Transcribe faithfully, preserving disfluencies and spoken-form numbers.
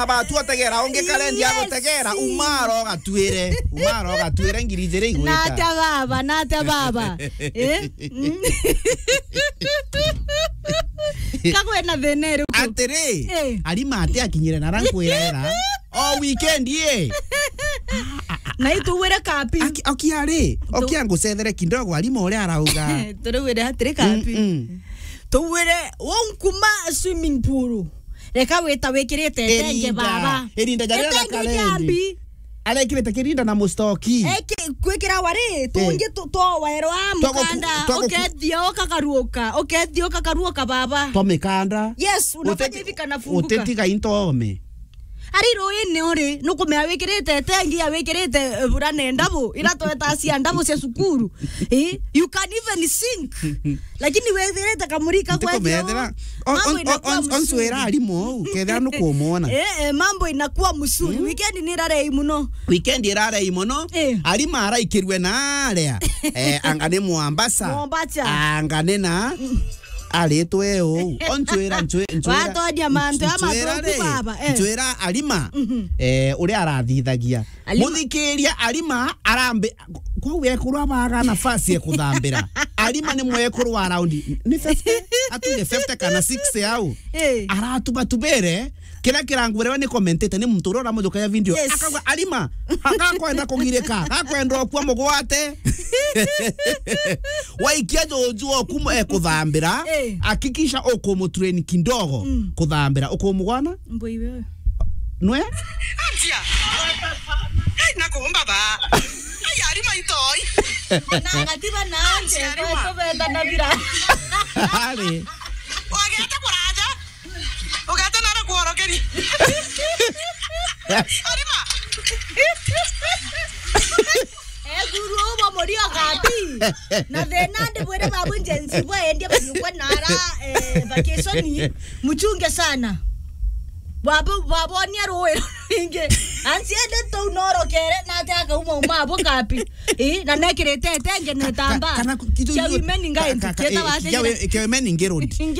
Abatu otegera, ungi karendi Yes. agotegera, umaro gatwire, umaro gatwire ngiri ijiri igwita. Nate baba, nate baba. Eh? Mm. Kagwe na thina iriku? Atiri, Eh. Arima ati akinyire na rankwirera. O weekend ye. Na ituwire kapi. Aki-, okia ri, Tu- okia ngucethere kidogo Arima uria arauga. Turiwire atiri kapi. Mm, mm. Tuwire, wonkuma swimming pool. Reka wita wikirite tenge Irinda, baba. Irinda ja ria Etenge karendi. Jambi. Arekirite kirinda na mustoki. Eki-, kwikira wari, Eh. tungi tu-, twawerwa Twago ku-, mukanda, twago ku- ukethia ukakaruuka, ukethia ukakaruuka baba. Twa mikanda. Yes, unafanya Uteti-, hivi kanafunguka. Utetiga into ome. Ari ruini uri, nukumea wikirite tengi ya wikirite, eh, burana ndabu, ira tweta cia ndabu cia cukuru. Eh, you can even sink. Lakini wethirite kamurika kwa Ntikumethera. On-, mambo on-, inakuwa on-, on-, mzuri. Onswira Arima uu, kethira nukumwona. Eh, eh, mambo inakuwa mzuri. Mm. Weekend ni irarei muno. Weekend irarei muno. Eh. Arima araikirwe na aria. Eh, anga ni Mombasa. Mombasa. Anga ni na aritwe uu. Onswira, nswi-, nswira, Watwaria mantu ama nswira athuku ri, baba, eh. Nswira Arima, Mhm. eh, uria arathithagia. Arima. Muthikiria Arima arambi-, kwou ekuru abaga nafasi ya kuthambira. Arima ni mwekuru wa around, ni fifty? Atuge fifty kana sixty au. Eh. Aratubatubere, kira kirangwire ni commentator, ni muntu uria uramujukagia video. Yes. Akauga, "Arima, gakwenda kugirika, gakwenda okua mugwate." Waikia juju oku ekuthambira, Eh. hakikisha ukumutrain kidogo Mm. kuthambira. Ukumugwana? Mbui wewe. Nwe? Anjia. Ai, nakuumba ba. Ai, Arima itoi. Na gatiba na anje, Arima. Kwetu beta na bira. Ari. Wagete kuraja. Ugete nara kuorokeri. Arima. Ethuru ubo muri o kapi. Na thina ndi bwire babu njenzi bwa endie banyukwe nara, eh, vacation. Muchunge sana. Babo-, babonia ruwi ringi. Ansi ende tu norokere na ate akauma uma abo kapi. Eh, na nekirite tenge netamba. Kana ku-, kitu Kia hiyo, women ka-, ngaendi, ka-, ka-, kieta eh, wate kia jira. We-, kia women ngerodi.